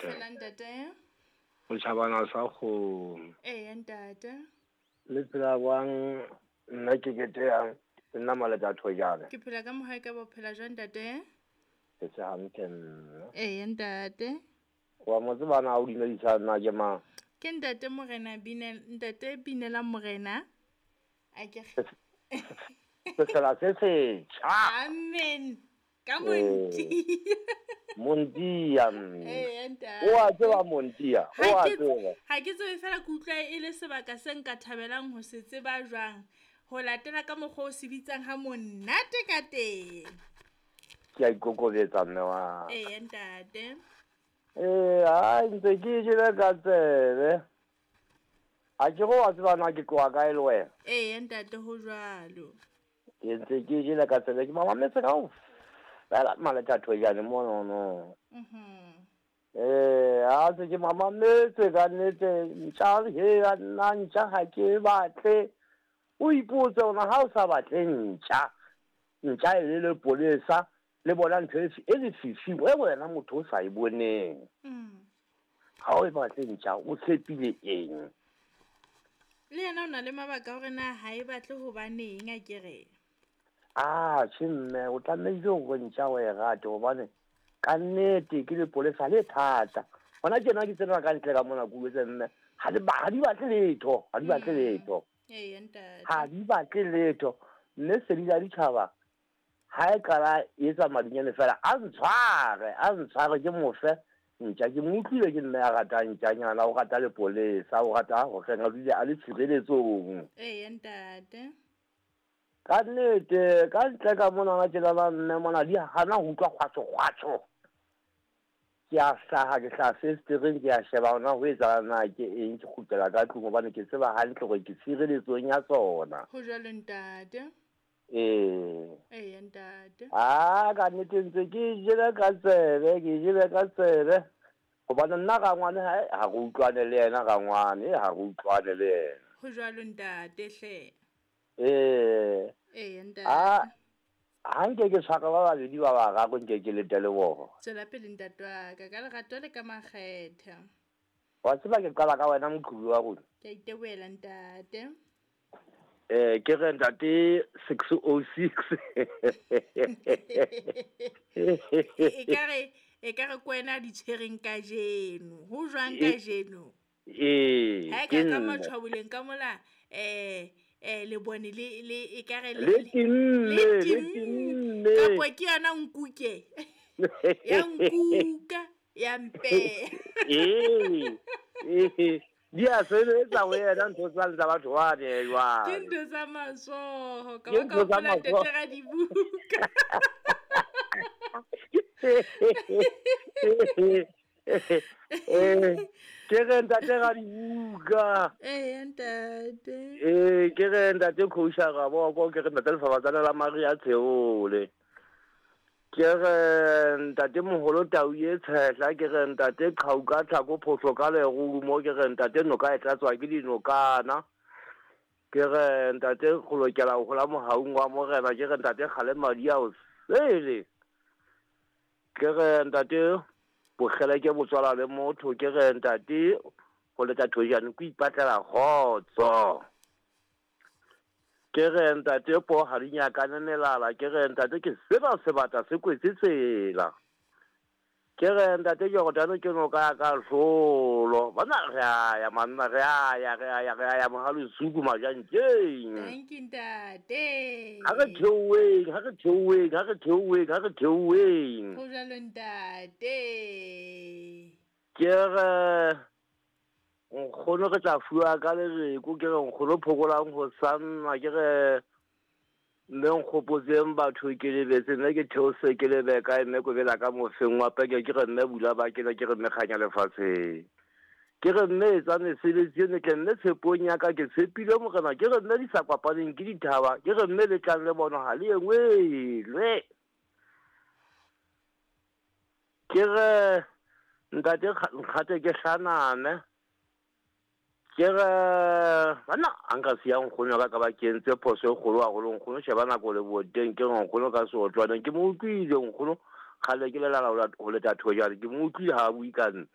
Phela ntate. O tjhabana sa kgomo. Eya ntate. Le phela jwang? Nna ke kete yang. Ke nna Maleta Thojane. Ke phela ka mohae ka bo phela jwang ntate? Ke se hantle nna. Eya ntate. Wa mo tseba na o dumedisa nna ke mang? Ke ntate Morena Binela, ntate Binela Morena. A ke Sefela se setjha. Amen. Ka Montia. Montia mme. Eya ntate. O a tseba Montia, o a tseba. Ha ke tsebe fela ke utlwa e le sebaka se nka thabelang ho se tseba jwang. Ho latela ka mokgwa o se bitsang ha monate ka teng. Ke a ikokobetsa mme wa. Eya ntate. Ee, hai ntse ke jele ka tsebe. A ke go wa tseba na ke tloha kae le wena? Eya ntate ho jwalo. Ke ntse ke jele ka tsebe ke mamametse kaofela Maleta Thojane monono. Ee, ha se ke mamametse ka nnete ntja he nna ntja ha ke batle. O ipotse hore ha o sa batle ntja, ntja e le lepolesa le bona ntho e lefifing e wena motho o sa e boneng. Ha o e batle ntja o tshepile eng? Le yena o na le mabaka hore na ha e batle hobaneng a kere. Ah, tjhe mme, o tlamehile hore ntja o e rate hobane ka nnete ke lepolesa le thata. Hona tjena ke tsena ka ntle ka mona ke utlwetse mme ha di batle letho, ha di batle letho. Eya ntate. Ha di batle letho. Mme sedi la ditjhaba ha e qala e etsa madinyane fela a ntshware ke mofe ntja. Ke mo utlwile ke mme a ratang ntjanyana, o rata lepolesa, o rata ho kena dule a le tshireletsong. Eya ntate. Ka nnete ka ntle ka mona tjena mme mona di hana ho utlwa kgwatsho kgwatsho. Ke a hlaha ke hlaha festereng ke a sheba hona ho etsahala na ke eng, ke kgutlela ka tlung hobane ke tseba hantle hore ke tshireletsong ya tsona. Ho jwalo ntate. Ee. Eya ntate. Ah, ka nnete ntse ke jele ka tsebe, ke jele ka tsebe. Hobane nna rangwane ha re utlwane le yena rangwane, ha re utlwane le yena. Ho jwalo ntate hle. Ee. Eya ntate. Ah, ha nke ke tshwara ba babedi ba bararo nke ke lete le bona. Tswela pele ntate wa ka, ka lerato le ka makgethe. Wa tseba ke qala ka wena moqhubi wa rona. Ke a itebohela ntate. Ke re ntate 606. E ka re kwena di tshwereng kajeno. Ho jwang kajeno? Ee. Ha ka ka matshwaboleng ka mola le bone le e ka re le timme. Kapo ke yona nkuke. Ya nkuka ya mpe. Ee. Di a sebetsa ho yena ntho tsa batho bane jwale. Ke ntho tsa matsoho ka ba ka hopola ntate Radibuka. Ke re ntate Radibuka. Ee ntate. Ee, ke re ntate Khousha Raboko, ke re ntate Lefabatsana la Maria Tsheole. Ke re ntate moholo Tau e Tshehla, ke re ntate Qhauka Tlhako Phohlo ka lerumo, ke re ntate noka e tlatswa ke dinokana. Ke re ntate go lokela ho hola mohaung wa morena, ke re ntate kgale madi a o sele. Ke re ntate bokgele ke botswala le motho, ke re ntate go leta Thojane ko ipatlela kgotso. Ke re ntate po ha di nyakane melala, ke re ntate ke seba sebata se kwetse tsela. Ke re ntate Jordano ke noka ya ka hlolo. Bana re a ya manna, re a ya mohalo suku majantjeng. Thank you ntate. Ha re theoweng, ha re theoweng, ha re theoweng, ha re theoweng. Ho jwalo ntate. Ke re nkgono re tla fuwa ka lereko, ke re nkgono phokolang ho sanna, ke re mme nkgopotseng batho ke lebetse, mme ke theose ke lebe kae, mme kobela ka mofeng wa peke, ke re mme bula ba kena, ke re mme kganya lefatsheng. Ke re mme etsa mesebetsi e metle, mme tshepong ya ka ke tshepile morena, ke re mme di sa kopaneng ke dithaba, ke re mme le tlang le bona ha le engwelwe. Ke re ntate nkgate ke hlaname. Ke re bana a nka siya nkgono ka ba ke entse phoso e kgolo haholo, nkgono sheba nako le boteng, ke re nkgono ka seotlwaneng, ke mo utlwile nkgono kgale ke lelala ho leta Thojane, ke mo utlwile ha a bue ka nna.